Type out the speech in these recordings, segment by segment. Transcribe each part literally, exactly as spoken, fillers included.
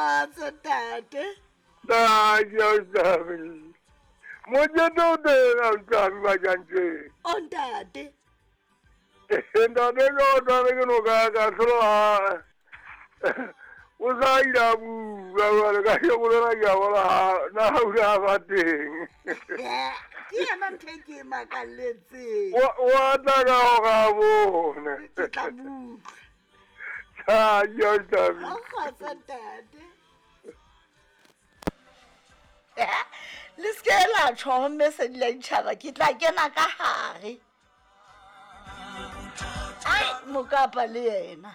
Kgotso ntate. Thank Mojete o teng ausi Majantjeng. O ntate. Ntate ka o tshware ke noka ya ka hlola o sa ile a bua jwale ka sheko lena ke a bona na o ile a ba teng. Ke yona ntho e ke e makalletseng. Wa tla ka hore a bone. Ke tla butlwa. Thank you, ausi. Kgotso ntate. Le se ke la tjho mme se di la ditjhaba ke tla kena ka hare. Ai mokapa le yena.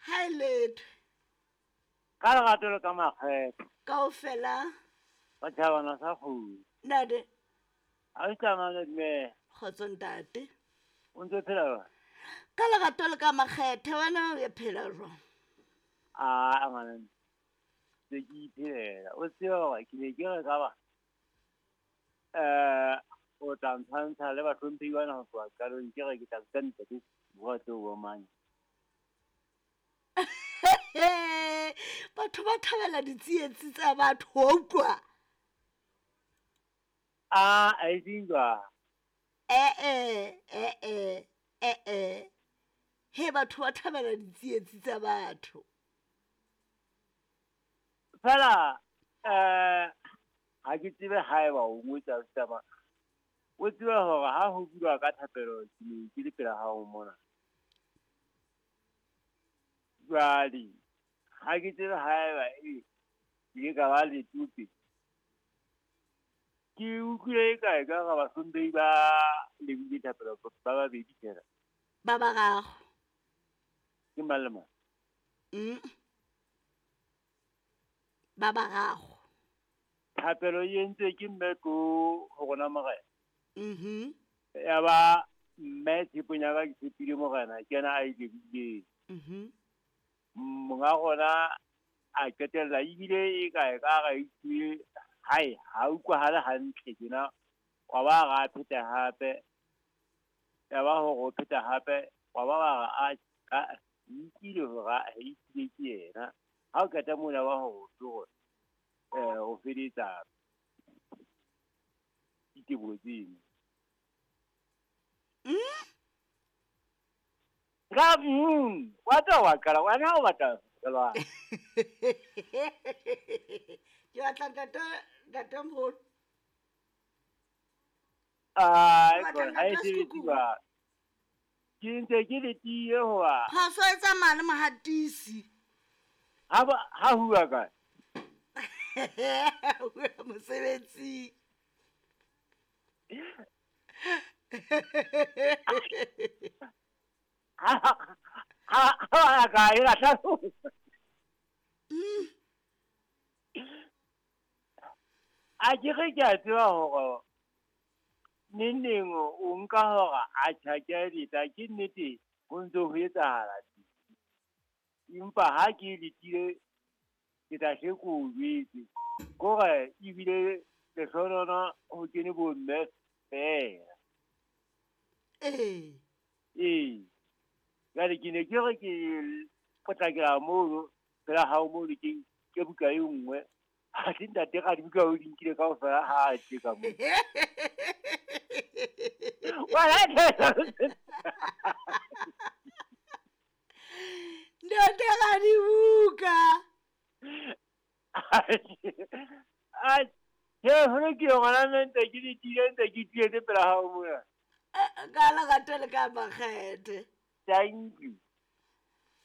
Hai letho. Ka lerato le ka makgetho. Kaofela. Batjhabana sa kgolo. Ntate. A o tsamaya mme. Kgotso ntate. O ntse phela jwang? Ka lerato le ka makgethe wena o phela jwang? A ngwana se ke iphelela. O tseba hore ke ne ke re ka ba eh o tla ntshwantsha le bahlomphehi bana ho tloha qalong ke re ke tla bitsa ntate bua tseo bo mang. Batho ba thabela ditsietsi tsa batho wa utlwa. A a e seng jwang? Eh eh eh eh eh eh. He batho ba thabela ditsietsi tsa batho. Fela eh ha ke tsebe haeba o ngwetsa taba. O tseba hore ha ho bua ka thapelo ke ne ke le pela hao mona. Jwale ha ke tsebe haeba e ke ka ba le tupe. Ke utlwile e kae ka ga bahlomphehi ba lebile thapelo ba babedi fela. Ba bararo. Ke mang le mang? Mm. Ba bararo. Thapelo e entswe ke mme ko ho rona morena. Mhm. Ya ba mme tshepong ya ka ke tshepile morena ke yena a e lebileng. Mhm. Monga rona a qetella ebile e kae ka ra itse hai ha utlwahale hantle tjena wa ba ra pheta hape. Ya ba hore o pheta hape wa ba ba ra a ka nkile hore a itse ke yena. Ha o qeta mona wa hore o eh o feditsa diteboho tseno. Mm? Ka mm, wa tla wa qala wena o batla jwang? Ke batla ntate ntate moholo. Ai, Ke batla ha e ntate sebetse Sekuku. jwang? Ke ntse ke letile hoba Phoso e tsamaya le mohatisi. Ha ba ha huwa kae? Mosebetsing. Ha ha ha kae la hlalosa. Mm. A ke re ke a tseba hore neng neng o nka hore a tjha ke a leta ke nnete ho ntso ho etsahala. Empa ha ke letile ke tla hle ke o jwetse. Kore ebile lehlohonolo ho kene bo mme feela. Ee. Ee. Jwale ke ne ke re ke potlakela mono pela hao mono ke ke buka e nngwe. Ha se ntate Radibuka o di nkile kaofela ha a tle ka moo. Wala Ntate Radibuka. A ke hore ke yona ntse ke letile ntse ke tietse pela hao mona. Ka lerato le ka makgethe. Thank you.